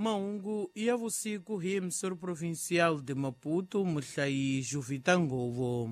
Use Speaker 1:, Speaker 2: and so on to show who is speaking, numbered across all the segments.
Speaker 1: Mahungu ya vusiku hi emissor provincial de Maputo, muhlayi Juvita Ngovo.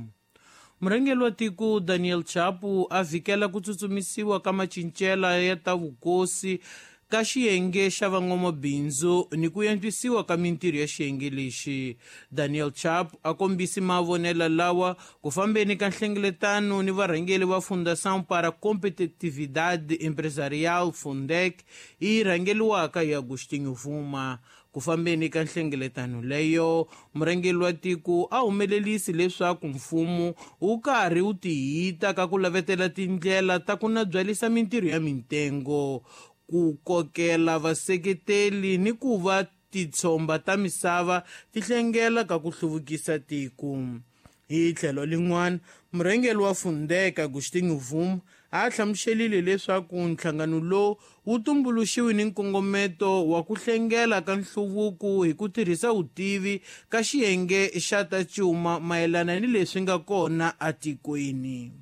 Speaker 1: Murhangeri wa tiko Daniel Chapo a vhikela ku tsutsumisiwa ka macincela ya ta vukosi ka xiyenge xa van'wamabindzu ni ku antswisiwa ka mintirho ya xiyenge lexi. Daniel Chapo a kombisi mavonelo lawa ku fambeni ka nhlengeletano ni varhangeri va Fundação para Competitividade Empresarial, Fundec, yi rhangeriwaka hi Agostinho Vuma. Ku fambeni ka nhlengeletano leyo, murhangeri wa tiko a humelerisi leswaku mfumo wu karhi wu tihita ka ku lavetela tindlela ta ku nabyalisa mintirho ya mitengo, ku kokela vaseketeli ni ku va titshomba ta misava ti hlengela ka ku hluvukisa tiko. Hi tlhelo lin'wana, murhangeri wa Fundec Agostinho Vuma a hlamuselile leswaku nhlangano lowu wu tumbuluxiwe ni nkongometo wa ku hlengela ka nhluvuko hi ku tirhisa vutivi ka xiyenge xa ta cuma mayelana ni leswi nga kona atikweni.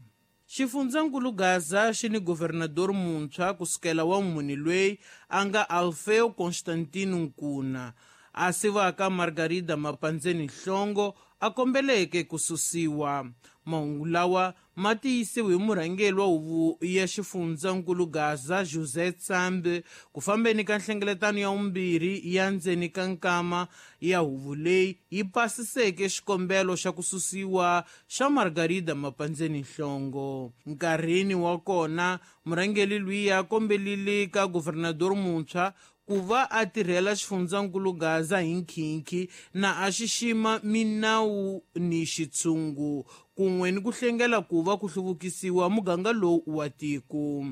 Speaker 1: Xifundzankulu Gaza xi ni governador muntshwa kusukela wa mune loyi a nga Alfeo Constantino Nkuna, a sivaka Margarida Mapandzeni Nhlongo a kombeleke ku susiwa. Mahungu lawa ma tiyisiwe hi murhangeri wa huvo ya xifundzankulu Gaza José Tsambe ku fambeni ka nhlengeletano ya vumbirhi ya ndzeni ka nkama ya huvo leyi yi pasiseke xikombelo xa ku susiwa xa Margarida Mapandzeni Nhlongo. Nkarhini wa kona, murhangeri luya a kombelile ka governador muntshwa ku va a tirhela xifundzankulu Gaza hi nkhinkhi na a xixima minawu ni xitshungu kun'we ni ku hlengela ku va ku hluvukisiwa muganga lowu wa tiko.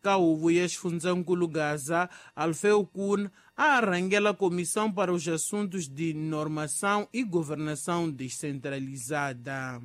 Speaker 1: Ka huvo ya xifundzankulu Gaza, Alfeu Kuna a rhangela Comissão para os Assuntos de Normação e Governação Descentralizada.